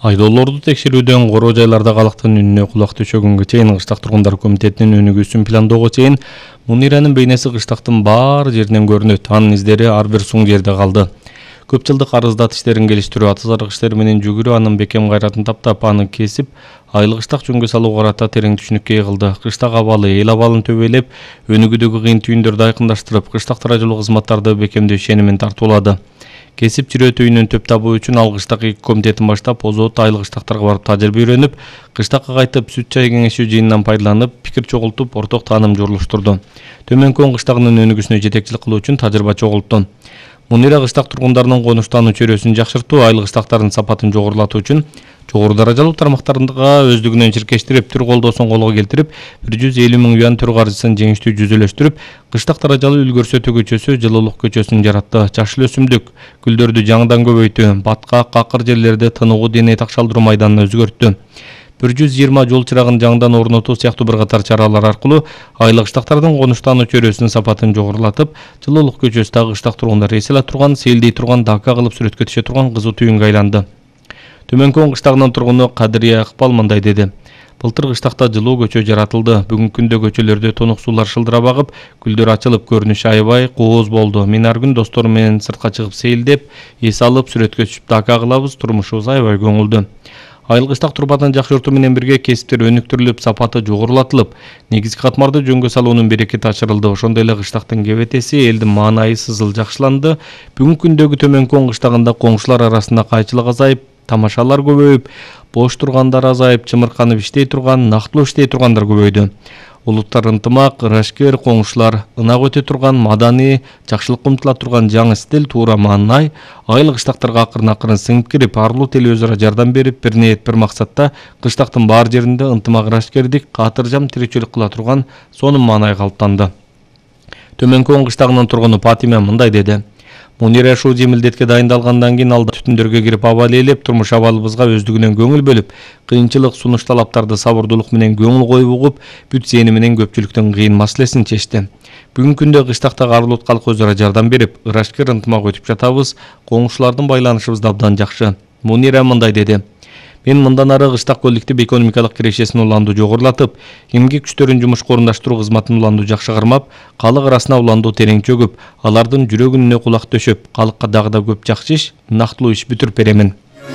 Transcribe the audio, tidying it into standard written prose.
Айдоолорду текшерүүдөн короо жайларда калктын үнүнө кулак төшөгөнгө чейин Кыштак тургундар комитетинин өнүгүүсүн пландоого чейин Муниранын бейнеси кыштактын баар жеринен көрүнөт. Анын издери ар бир суң жерде калды. Көп жылдык арыздат иштерин келиштирүү, аты-зарык иштер менен жүгүрүү анын бекем кайратын таптап, аны кесип, айыл кыштак жөнгө салууга карата терең түшүнүккө ыйгылды. Кыштак абалы, эл абалын төбөлөп, өнүгүүдөгү кыйын түйүндөрдү айкындаштырып, кыштак тарайжылуу кызматтарды бекемдөө ишенимин тартуулады. Кесип чирөө түйүнүн төп табуу үчүн ал кыштак комитетин баштап, Озот айыл кыштактарга барып тажрыйба үйрөнүп, кыштакка кайтып сүт чай кеңешүү жыйынынан пайдаланып, пикир чогултуп, орток тааным журулуштурду. Төмөнкөн кыштагынын өнүгүүсүнө жетекчилик кылуу үчүн тажрыйба чогултту. Мунира кыштак тургундарынын конуштануу чөйрөсүн жакшыртуу, айыл кыштактарынын сапатын жогорулатуу үчүн жогору даражалуу тармактарга өздүгүнөн чиркештирип, түр колдоосун колго келтирип, 150 000 юан түр каржысын жеңиштүү жүзөлөштүрүп, кыштак даражалуу үлгүрсөтүү көчөсү, жылуулук көчөсүн жаратты. Жашыл өсүмдүк, гүлдөрдү жаңыдан көбөйтүү, баткак, какыр жерлерде тыныгуу дене такшалдыруу майданын өзгөрттү. 120 жол чырагын жаңыдан орнотуу сыяктуу бир катар чаралар аркылуу айыл кыштактардын конуштануу чөйрөсүнүн сапатын жогорулатып, жылуулук көчөсү кыштак тургундар эс ала турган, сейилдей турган, дака кылып сүрөткө түшө турган кызуу түйүнгө айланды. Төмөнкөн кыштагынын тургуну Кадырия Акпал мындай деди. Былтыр кыштакта жылуу көчө жаратылды. Бүгүнкү күндө көчөлөрдө тонук суулар шылдырап агып, гүлдөр ачылып, көрүнүшү аябай кооз болду. Мен ар күн досторум менен сыртка чыгып сейилдеп, эс алып, сүрөткө түшүп дака кылабыз, турмушубуз аябай көңүлдүү. Айыл кыштак турбатын жакшыртуу менен бирге кесиптер өнүктүрүлүп, сапаты жогорулатылып, негизги катмарды жөнгө салуунун берекети ачырылды. Ошондой эле кыштактын кебетеси, элдин маанайы сызыл жакшыланды. Бүгүнкү күндөгү төмөнкөн кыштагында коңшулар арасында кайчылык азайып, тамашалар көбөйүп, бош тургандар азайып, чымырканып иштей турган, нактылуу иштей тургандар көбөйдү. Улуттар ынтымак, ырашкер, коңшулар ынак өтө турган, мадани, жакшылыкка умтула турган жаңы стиль, туура маанай, айыл кыштактарга акырын сиңип кирип, арлуу тел өзара жардам берип, бир ниет, бир максатта кыштактын баар жеринде ынтымак, ырашкердик, каатыржам тиричилик кыла турган сонун маанай калыптанды. Төмөнкөн кыштагынын тургуну Патима мындай деди. Мунира ушул жемилдетке дайындалгандан кийин алда түтүндөргө кирип аба ээлеп, турмуш абалыбызга өздүгүнөн көңүл бөлүп, кыйынчылык, сунуш талаптарды сабырдуулук менен көңүл коюп угуп, бүт зээни менен көпчүлүктүн кыйын маселесин чечти. Бүгүнкү күндө кыштактагы арлуу калк өзара жардам берип, ырашкер ынтымак өтүп жатабыз, коңшулардын байланышыбыз да абдан жакшы. Мунира мындай деди. Мен мындан ары кыштак коллектив экономикалык кирешесин уланду жогорулатып, эмгек күчтөрүн жумушка орундаштыруу кызматын уланду жакшы кармап, калык арасына уланду терең чөгүп, алардын жүрөгүнүнө кулак төшөп, калыкка дагы да көп жакшы иш, нактылуу иш бүтүрүп беремин.